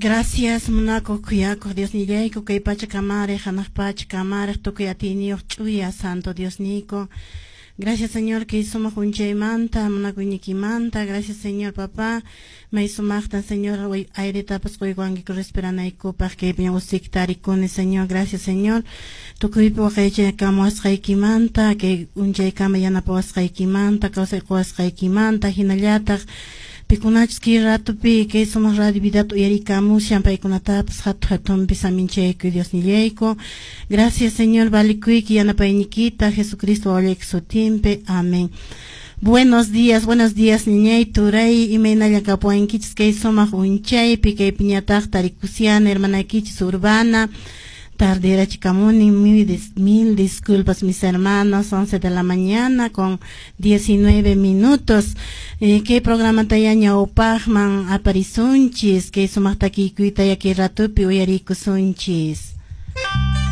Gracias, munakuq khuyakuq Diosnillayku, kay pacha kamariq, hanaq pacha kamariq, tukuy atiyniyuq ch'uya santo Diosniyku. Gracias, Señor, kay sumaq unchaymanta, munakuyniykimanta. Gracias, Señor, papá. May sumaqtan, Señor, airetapas quykuwankiku respiranaykupaq, kaypi usik tarikuni, Señor. Gracias, Señor. Tukuypi waqaychakamuwasqaykimanta, kay unchaykama yanapawasqaykimanta, kawsay quwasqaykimanta, hinallataq pikunachus kay ratupi kay sumaq radio vidata uyarikamushan paykunatapas hatu hatunpi saminchayku Diosnillayku. Gracias, Señor, valikuyki yanapaynikita Jesucristo wawallayki sutinpi. Amén. Buenos días, ñañay, turay, imaynalla kapuwankichis kay sumaq unchaypi, kay piñataq tarikusiana, hermanaykichis Urbana. Tarderachikamuni, mil disculpas, mis hermanos, 11 de la mañana con 19 minutos. Kay programa ya ñawpaqman aparisunchis, kay sumaq takiykuyta ya kay ratupi uyarikusunchis.